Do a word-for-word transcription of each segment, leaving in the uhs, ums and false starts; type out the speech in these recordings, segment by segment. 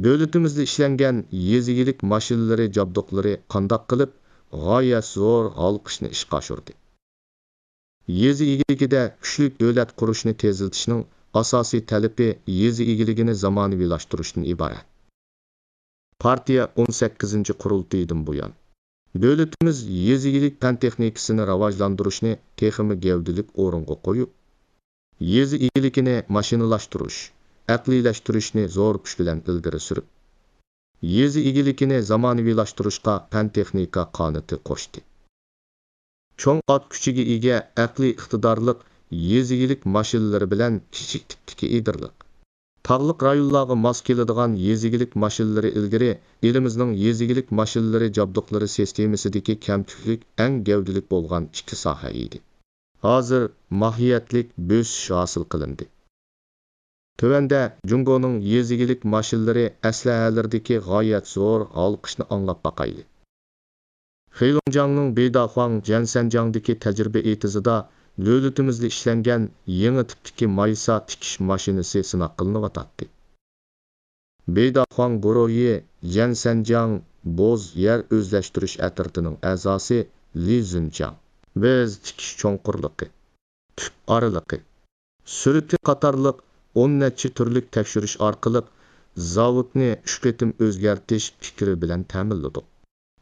دۆلىتىمىزدە ئىشلەنگەن يېزا ئىگىلىك ماشىنىلىرى جابدۇقلىرى قانداق قىلىپ غايەت زور ھالقىشنى ئىشقا ئاشۇردى؟ يېزا ئىگىلىكىدە كۈچلۈك دۆلەت قۇرۇشنى تېزلىتىشنىڭ ئاساسىي تەلىپى يېزا ئىگىلىكىنى زامانىۋىلاشتۇرۇشتىن ئىبارەت. پارتىيە ئون سەككىزىنچى قۇرۇلتىيىدىن بۇيان، دۆلىتىمىز يېزا ئىگىلىك پەن تېخنىكىسىنى راۋاجلاندۇرۇشنى تېخىمۇ گەۋدىلىك ئورۇنغا قويۇپ، يېزا ئىگىلىكىنى ماشىنىلاشتۇرۇش، ئەقلىيلەشتۈرۈشنى زور كۈچ بىلەن ئىلگىرى سۈرۈپ، يېزا ئىگىلىكىنى زامانىۋىلاشتۇرۇشقا پەن تېخنىكا قانىتى قوشتى. چوڭ ئات كۈچىگە ئىگە، ئەقلىي ئىقتىدارلىق يېزا ئىگىلىك ماشىنىلىرى بىلەن كىچىك تىپتىكى ئېدىرلىق، تاغلىق رايونلارغا ماس كېلىدىغان يېزا ئىگىلىك ماشىنىلىرى ئىلگىرى ئېلىمىزنىڭ يېزا ئىگىلىك ماشىنىلىرى جابدۇقلىرى سىستېمىسىدىكى كەمتۈكلۈك ئەڭ گەۋدىلىك بولغان ئىككى ساھە ئىدى. ھازىر ماھىيەتلىك بۆسۈش ھاسىل قىلىندى. تۆۋەندە جۇڭگونىڭ يېزا ئىگىلىك ماشىنىلىرى ئەسلىھەلىرىدىكى غايەت زور ھالقىشنى ئاڭلاپ باقايلى. خېيلۇڭجياڭنىڭ بېيداخۇاڭ جيەنسەنجياڭدىكى تەجرىبە ئېتىزىدا دۆلىتىمىزدە ئىشلەنگەن يېڭى تىپتىكى مايسا تىكىش ماشىنىسى سىناق قىلىنىۋاتاتتى. بېيداخۇاڭ گۇرۇھى جيەنسەنجياڭ بوز يەر ئۆزلەشتۈرۈش ئەترىتىنىڭ ئەزاسى لى زۈنچياڭ، بىز تىكىش چوڭقۇرلۇقى، تۈپ ئارىلىقى، سۈرئىتى قاتارلىق ئون نەچچە تۈرلۈك تەكشۈرۈش ئارقىلىق زاۋۇتنى ئۈچ قېتىم ئۆزگەرتىش پىكرى بىلەن تەمىنلىدۇق.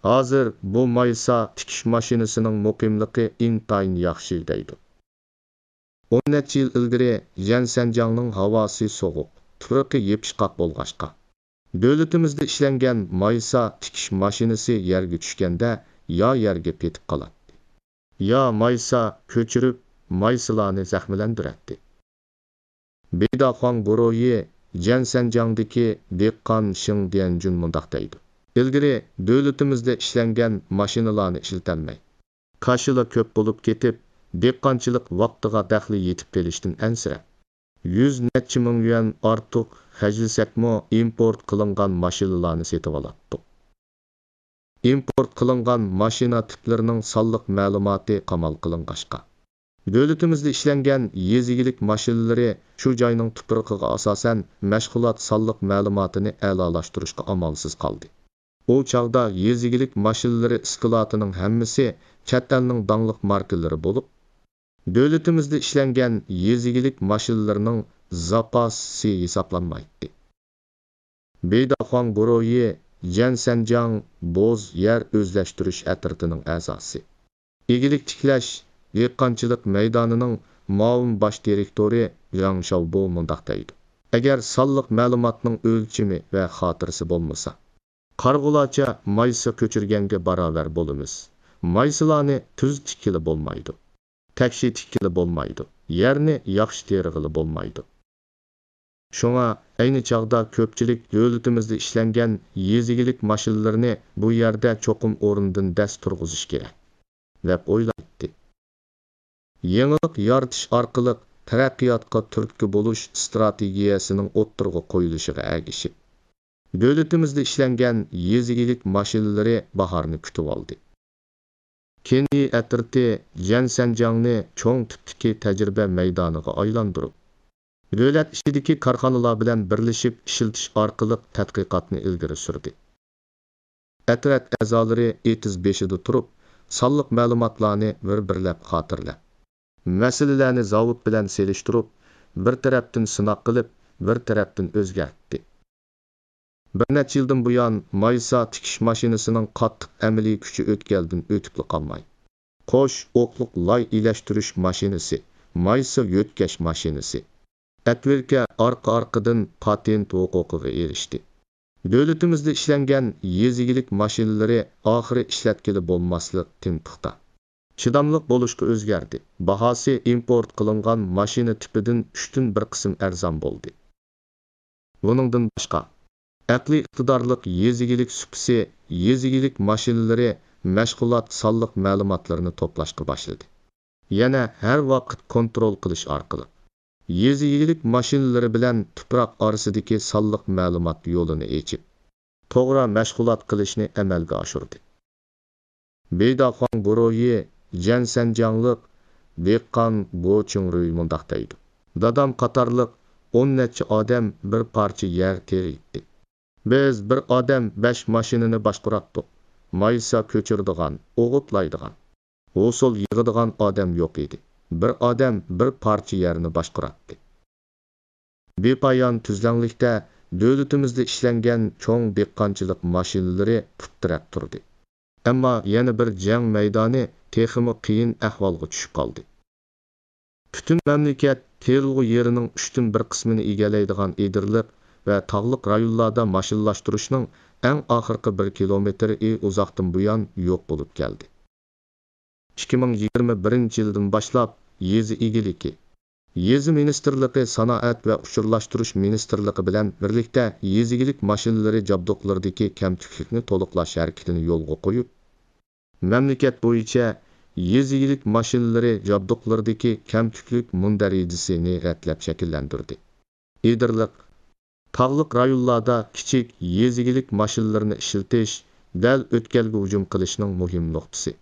ھازىر بۇ مايسا تىكىش ماشىنىسىنىڭ مۇقىملىقى ئىنتايىن ياخشى، دەيدۇ. ئون نەچچە يىل ئىلگىرى جيەنسەنجياڭنىڭ ھاۋاسى سوغۇق، تۇپرىقى يېپىشقاق بولغاچقا، دۆلىتىمىزدە ئىشلەنگەن مايسا تىكىش ماشىنىسى يەرگە چۈشكەندە يا يەرگە پېتىپ قالاتتى، يا مايسا كۆچۈرۈپ، مايسىلارنى زەخىملەندۈرەتتى. بېيداخۇاڭ گۇرۇھى جيەنسەنجياڭدىكى دېھقان شېڭ ديەنجۈن مۇنداق دەيدۇ: ئىلگىرى دۆلىتىمىزدە ئىشلەنگەن ماشىنىلارنى ئىشلىتەلمەي، كاشىلا كۆپ بولۇپ كېتىپ، دېھقانچىلىق ۋاقتىغا دەخلى يېتىپ قېلىشتىن ئەنسىرەپ، يۈز نەچچە مىڭ يۈەن ئارتۇق خەجلىسەكمۇ، ئىمپورت قىلىنغان ماشىنىلارنى سېتىۋالاتتۇق. ئىمپورت قىلىنغان ماشىنا تىپلىرىنىڭ سانلىق مەلۇماتى قامال قىلىنغاچقا، دۆلىتىمىزدە ئىشلەنگەن يېزا ئىگىلىك ماشىنىلىرى شۇ جاينىڭ تۇپرىقىغا ئاساسەن مەشغۇلات سانلىق مەلۇماتىنى ئەلالاشتۇرۇشقا ئامالسىز قالدى. ئۇ چاغدا يېزا ئىگىلىك ماشىنىلىرى ئىسكىلاتىنىڭ ھەممىسى چەت ئەلنىڭ داڭلىق ماركىلىرى بولۇپ، دۆلىتىمىزدە ئىشلەنگەن يېزا ئىگىلىك ماشىنىلىرىنىڭ زاپاسى ھېسابلانمايتتى. بېيداخۇاڭ گۇرۇھى جيەنسەنجياڭ بوز يەر ئۆزلەشتۈرۈش ئەترىتىنىڭ ئەزاسى، ئىگىلىك تىكلەش، دېھقانچىلىق مەيدانىنىڭ مۇئاۋىن باش دىرېكتورى لياڭ شاۋبو مۇنداق دەيدۇ: ئەگەر سانلىق مەلۇماتنىڭ ئۆلچىمى ۋە خاتىرىسى بولمىسا، قارىغۇلارچە مايسا كۆچۈرگەنگە باراۋەر بولىمىز. مايسىلارنى تۈز تىككىلى بولمايدۇ، تەكشى تىككىلى بولمايدۇ، يەرنى ياخشى تېرىغىلى بولمايدۇ. شۇڭا ئەينى چاغدا كۆپچىلىك دۆلىتىمىزدە ئىشلەنگەن يېزا ئىگىلىك ماشىنىلىرىنى بۇ يەردە چوقۇم ئورنىدىن دەس تۇرغۇزۇش كېرەك، دەپ ئويلايتتى. يېڭىلىق يارىتىش ئارقىلىق تەرەققىياتقا تۈرتكە بولۇش ئىستراتېگىيەسىنىڭ ئوتتۇرىغا قويۇلۇشىغا ئەگىشىپ، دۆلىتىمىزدە ئىشلەنگەن يېزا ئىگىلىك ماشىنىلىرى باھارنى كۈتۈۋالدى. كېنيى ئەترىتى جيەنسەنجياڭنى چوڭ تىپتىكى تەجرىبە مەيدانىغا ئايلاندۇرۇپ، دۆلەت ئىچىدىكى كارخانىلار بىلەن بىرلىشىپ ئىشلىتىش ئارقىلىق تەتقىقاتنى ئىلگىرى سۈردى. ئەترەت ئەزالىرى ئېتىز بېشىدا تۇرۇپ، سانلىق مەلۇماتلارنى بىر-بىرلەپ خاتىرىلەپ، مەسىلىلەرنى زاۋۇت بىلەن سېلىشتۇرۇپ، بىر تەرەپتىن سىناق قىلىپ، بىر تەرەپتىن ئۆزگەرتتى. بىر نەچچە يىلدىن بۇيان مايسا تىكىش ماشىنىسىنىڭ قاتتىق ئەمەلىي كۈچى ئۆتكەلدىن ئۆتۈپلا قالماي، قوش ئوقلۇق لاي ئىلەشتۈرۈش ماشىنىسى، مايسا يۆتكەش ماشىنىسى، ئەتۋىركە ئارقا-ئارقىدىن پاتېنت ھوقۇقىغا ئېرىشتى. دۆلىتىمىزدە ئىشلەنگەن يېزا ئىگىلىك ماشىنىلىرى ئاخىرى ئىشلەتكىلى بولماسلىق تىڭ پۇختا، چىداملىق بولۇشقا ئۆزگەردى. باھاسى ئىمپورت قىلىنغان ماشىنا تىپىدىن ئۈچتىن بىر قىسىم ئەرزان بولدى. بۇنىڭدىن باشقا، ئەقلىي ئىقتىدارلىق يېزا ئىگىلىك سۇپىسى، يېزا ئىگىلىك ماشىنىلىرى مەشغۇلات سانلىق مەلۇماتلىرىنى توپلاشقا باشلىدى. يەنە ھەر ۋاقىت كونترول قىلىش ئارقىلىق، يېزا ئىگىلىك ماشىنىلىرى بىلەن تۇپراق ئارىسىدىكى سانلىق مەلۇمات يولىنى ئېچىپ، توغرا مەشغۇلات قىلىشنى ئەمەلگە ئاشۇردى. بېيداخۇاڭ گۇرۇھى جيەنسەنجياڭلىق دېھقان گو چىڭرۇي مۇنداق دەيدۇ: دادام قاتارلىق ئون نەچچە ئادەم بىر پارچە يەر تېرىيتتى. بىز بىر ئادەم بەش ماشىنىنى باشقۇراتتۇق. مايسا كۆچۈرىدىغان، ئوغۇتلايدىغان، ھوسۇل يىغىدىغان ئادەم يوق ئىدى. بىر ئادەم بىر پارچە يەرنى باشقۇراتتى. بىپايان تۈزلەڭلىكتە دۆلىتىمىزدە ئىشلەنگەن چوڭ دېھقانچىلىق ماشىنىلىرى پۇت تىرەپ تۇردى. ئەمما يەنە بىر جەڭ مەيدانى تېخىمۇ قىيىن ئەھۋالغا چۈشۈپ قالدى. پۈتۈن مەملىكەت تېرىلغۇ يېرىنىڭ ئۈچتىن بىر قىسمىنى ئىگىلەيدىغان ئېدىرلىق ۋە تاغلىق رايونلاردا ماشىنىلاشتۇرۇشنىڭ ئەڭ ئاخىرقى بىر كىلومېتىرى ئۇزاقتىن بۇيان يوق بولۇپ كەلدى. ئىككى مىڭ يىگىرمە بىرىنچى يىلدىن باشلاپ يېزا ئىگىلىكى، يېزا مىنىستىرلىقى، سانائەت ۋە ئۇچۇرلاشتۇرۇش مىنىستىرلىقى بىلەن بىرلىكتە يېزا ئىگىلىك ماشىنىلىرى جابدۇقلىرىدىكى كەمتۈكلۈكنى تولۇقلاش ھەرىكىتىنى يولغا قويۇپ، مەملىكەت بويىچە يېزا ئىگىلىك ماشىنىلىرى جابدۇقلىرىدىكى كەمتۈكلۈك مۇندەرىجىسىنى رەتلەپ شەكىللەندۈردى. ئېدىرلىق، تاغلىق رايونلاردا كىچىك يېزا ئىگىلىك ماشىنىلىرىنى ئىشلىتىش دەل ئۆتكەلگە ھۇجۇم قىلىشنىڭ مۇھىم نۇقتىسى.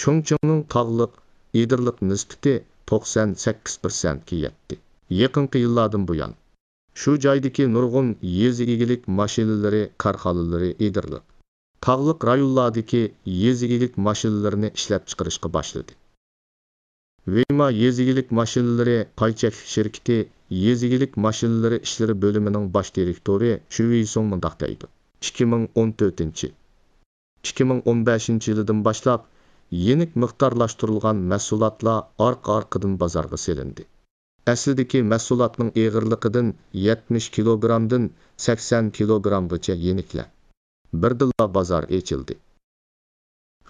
چۇڭچىڭنىڭ تاغلىق، ئېدىرلىق نىسبىتى توقسان سەككىز پىرسەنتكە يەتتى. يېقىنقى يىللاردىن بۇيان، شۇ جايدىكى نۇرغۇن يېزا ئىگىلىك ماشىنىلىرى كارخانىلىرى ئېدىرلىق، تاغلىق رايونلاردىكى يېزا ئىگىلىك ماشىنىلىرىنى ئىشلەپچىقىرىشقا باشلىدى. ۋېيما يېزا ئىگىلىك ماشىنىلىرى پاي چەكلىك شىركىتى يېزا ئىگىلىك ماشىنىلىرى ئىشلىرى بۆلۈمىنىڭ باش دىرېكتورى چۈ ۋېيسۇڭ مۇنداق دەيدۇ: ئىككى مىڭ ئون تۆتىنچى، ئىككى مىڭ ئون بەشىنچى يىلىدىن باشلاپ يېنىك مىقدارلاشتۇرۇلغان مەھسۇلاتلار ئارقا-ئارقىدىن بازارغا سېلىندى. ئەسلىدىكى مەھسۇلاتنىڭ ئېغىرلىقىدىن يەتمىش كىلوگرامدىن سەكسەن كىلوگرامغىچە يېنىكلەپ، بىردىنلا بازار ئېچىلدى.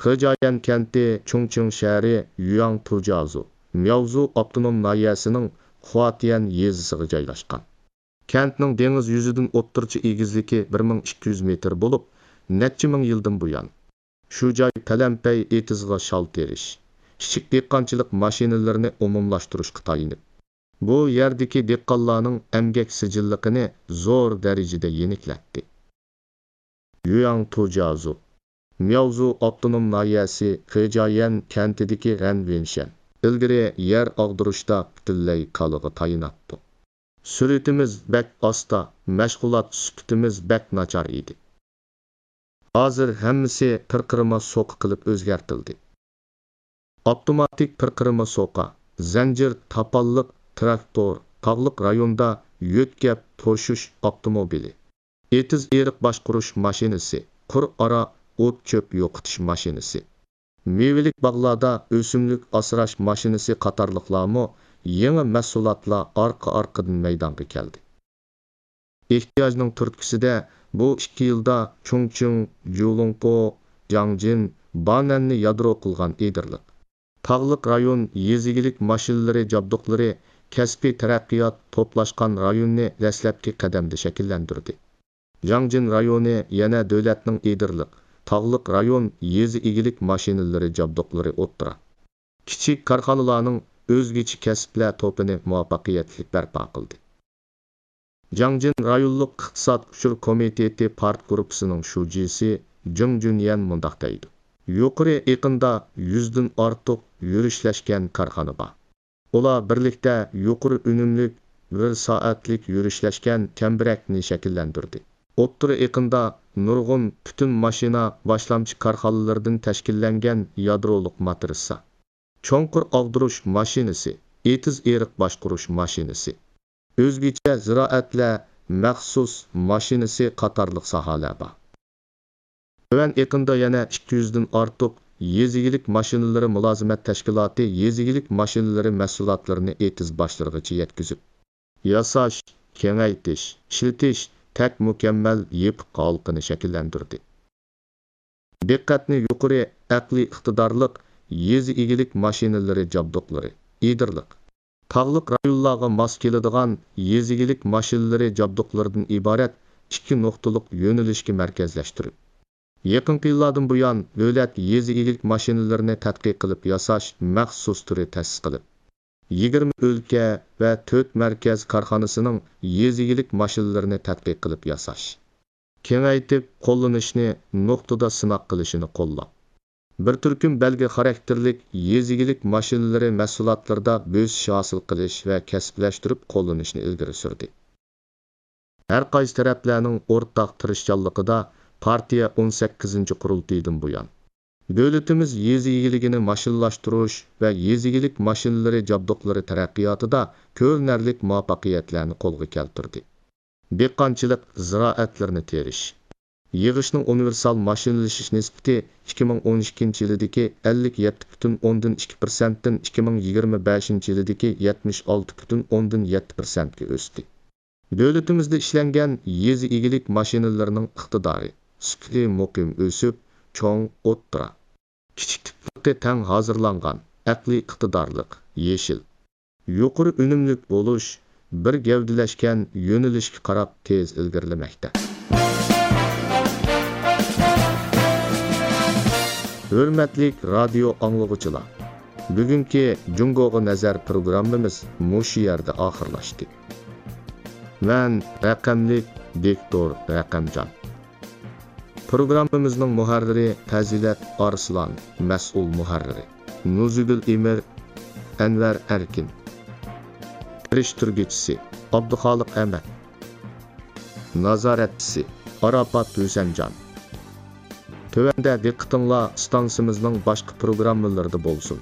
خېجيەن كەنتى چۇڭچىڭ شەھىرى يۈياڭ تۇجيازۇ، مياۋزۇ ئاپتونوم ناھىيەسىنىڭ خۇاتيەن يېزىسىغا جايلاشقان. كەنتنىڭ دېڭىز يۈزىدىن ئوتتۇرىچە ئېگىزلىكى بىر مىڭ ئىككى يۈز مېتىر بولۇپ، نەچچە مىڭ يىلدىن بۇيان، شۇ جاي پەلەمپەي ئېتىزغا شال تېرىش، كىچىك دېھقانچىلىق ماشىنىلىرىنى ئومۇملاشتۇرۇشقا تايىنىپ، بۇ يەردىكى دېھقانلارنىڭ ئەمگەك سىجىللىقىنى زور دەرىجىدە يېنىكلەتتى. يۈياڭ تۇجيازۇ، مياۋزۇ ئاپتونوم ناھىيەسى خېجيەن كەنتىدىكى غەن ۋېنشەن ئىلگىرى يەر ئاغدۇرۇشتا پۈتۈنلەي كالىغا تايىناتتۇق. سۈرئىتىمىز بەك ئاستا، مەشغۇلات سۈپىتىمىز بەك ناچار ئىدى. ھازىر ھەممىسى پىرقىرىما سوقا قىلىپ ئۆزگەرتىلدى. ئاپتوماتىك پىرقىرىما سوقا، زەنجىر تاپانلىق تىراكتور، تاغلىق رايوندا يۆتكەپ توشۇش ئاپتوموبىلى، ئېتىز-ئېرىق باشقۇرۇش ماشىنىسى، قۇر ئارا ئوت-چۆپ يوقىتىش ماشىنىسى، مېۋىلىك باغلاردا ئۆسۈملۈك ئاسراش ماشىنىسى قاتارلىقلارمۇ يېڭى مەھسۇلاتلار ئارقا-ئارقىدىن مەيدانغا كەلدى. ئېھتىياجنىڭ تۈرتكىسىدە بۇ ئىككى يىلدا چۇڭچىڭ، جۇلۇڭقو، جاڭجىن، بانەننى يادرو قىلغان ئېدىرلىق، تاغلىق رايون يېزا ئىگىلىك ماشىنىلىرى جابدۇقلىرى كەسپىي تەرەققىيات توپلاشقان رايوننى دەسلەپكى قەدەمدە شەكىللەندۈردى. جاڭجىن رايونى يەنە دۆلەتنىڭ ئېدىرلىق، تاغلىق رايون يېزا ئىگىلىك ماشىنىلىرى جابدۇقلىرى ئوتتۇرا، كىچىك كارخانىلارنىڭ ئۆزگىچە كەسىپلەر توپىنى مۇۋەپپەقىيەتلىك بەرپا قىلدى. جاڭجىن رايونلۇق ئىقتىساد ئۇچۇر كومىتېتى پارت گۇرۇپپىسىنىڭ شۇجىسى جېڭ جۈنيەن مۇنداق دەيدۇ: يۇقىرى ئېقىندا يۈزدىن ئارتۇق يۈرۈشلەشكەن كارخانا بار. ئۇلار بىرلىكتە يۇقىرى ئۈنۈملۈك، بىر سائەتلىك يۈرۈشلەشكەن كەمبىرەكنى شەكىللەندۈردى. ئوتتۇرا ئېقىندا نۇرغۇن پۈتۈن ماشىنا باشلامچى كارخانىلىرىدىن تەشكىللەنگەن يادرولۇق ماترىتسا، چوڭقۇر ئاغدۇرۇش ماشىنىسى، ئېتىز-ئېرىق باشقۇرۇش ماشىنىسى، ئۆزگىچە زىرائەتلەر مەخسۇس ماشىنىسى قاتارلىق ساھەلەر بار. تۆۋەن ئېقىندا يەنە ئىككى يۈزدىن ئارتۇق يېزا ئىگىلىك ماشىنىلىرى مۇلازىمەت تەشكىلاتى يېزا ئىگىلىك ماشىنىلىرى مەھسۇلاتلىرىنى ئېتىز باشلىرىغىچە يەتكۈزۈپ، ياساش، كېڭەيتىش، ئىشلىتىش تەك مۇكەممەل يېپىق ھالقىنى شەكىللەندۈردى. دىققەتنى يۇقىرى ئەقلىي ئىقتىدارلىق يېزا ئىگىلىك ماشىنىلىرى جابدۇقلىرى، ئېدىرلىق، تاغلىق رايونلارغا ماس كېلىدىغان يېزا ئىگىلىك ماشىنىلىرى جابدۇقلىرىدىن ئىبارەت ئىككى نۇقتىلىق يۆنىلىشكە مەركەزلەشتۈرۈپ، يېقىنقى يىللاردىن بۇيان دۆلەت يېزا ئىگىلىك ماشىنىلىرىنى تەتقىق قىلىپ ياساش مەخسۇس تۈرى تەسىس قىلىپ، يىگىرمە ئۆلكە ۋە تۆت مەركەز كارخانىسىنىڭ يېزا ئىگىلىك ماشىنىلىرىنى تەتقىق قىلىپ ياساش، كېڭەيتىپ قوللىنىشنى نۇقتىدا سىناق قىلىشىنى قوللاپ، بىر تۈركۈم بەلگە خاراكتېرلىك يېزا ئىگىلىك ماشىنىلىرى مەھسۇلاتلىرىدا بۆسۈش ھاسىل قىلىش ۋە كەسىپلەشتۈرۈپ قوللىنىشنى ئىلگىرى سۈردى. ھەر قايسى تەرەپلەرنىڭ ئورتاق تىرىشچانلىقىدا پارتىيە ئون سەككىزىنچى قۇرۇلتىيىدىن بۇيان، دۆلىتىمىز يېزا ئىگىلىكىنى ماشىنىلاشتۇرۇش ۋە يېزا ئىگىلىك ماشىنىلىرى جابدۇقلىرى تەرەققىياتىدا كۆرۈنەرلىك مۇۋەپپەقىيەتلەرنى قولغا كەلتۈردى. دېھقانچىلىق زىرائەتلىرىنى تېرىش، يىغىشنىڭ ئۇنىۋېرسال ماشىنىلىشىش نىسبىتى ئىككى مىڭ ئون ئىككىنچى يىلىدىكى ئەللىك يەتتە پۈتۈن ئوندىن ئىككى پىرسەنتتىن ئىككى مىڭ يىگىرمە بەشىنچى يىلىدىكى يەتمىش ئالتە پۈتۈن ئوندىن يەتتە پىرسەنتكە ئۆستى. دۆلىتىمىزدە ئىشلەنگەن يېزا ئىگىلىك ماشىنىلىرىنىڭ ئىقتىدارى، سۈپىتى مۇقىم ئۆسۈپ، چوڭ، ئوتتۇرا، كىچىك تىپلىقى تەڭ ھازىرلانغان، ئەقلىي ئىقتىدارلىق، يېشىل، يۇقىرى ئۈنۈملۈك بولۇش بىر گەۋدىلەشكەن يۆنىلىشكە قاراپ تېز ئىلگىرىلىمەكتە. ھۆرمەتلىك رادىيو ئاڭلىغۇچىلار، بۈگۈنكى جۇڭگوغا نەزەر پروگراممىمىز مۇشۇ يەردە ئاخىرلاشتى. مەن رەقەملىك دىكتور رەقەمجان. پروگراممىمىزنىڭ مۇھەررىرى پەزىلەت ئارسلان، مەسئۇل مۇھەررىرى نۇزۇگۈل ئىمىر، ئەنۋەر ئەركىن. تىرىشتۈرگۈچىسى ئابدۇخالىق ئەمەت. نازارەتچىسى ئاراپات ھۈسەنجان. تۆۋەندە دىققىتىڭلار ئىستانسىمىزنىڭ باشقا پروگراممىلىرىدا بولسۇن.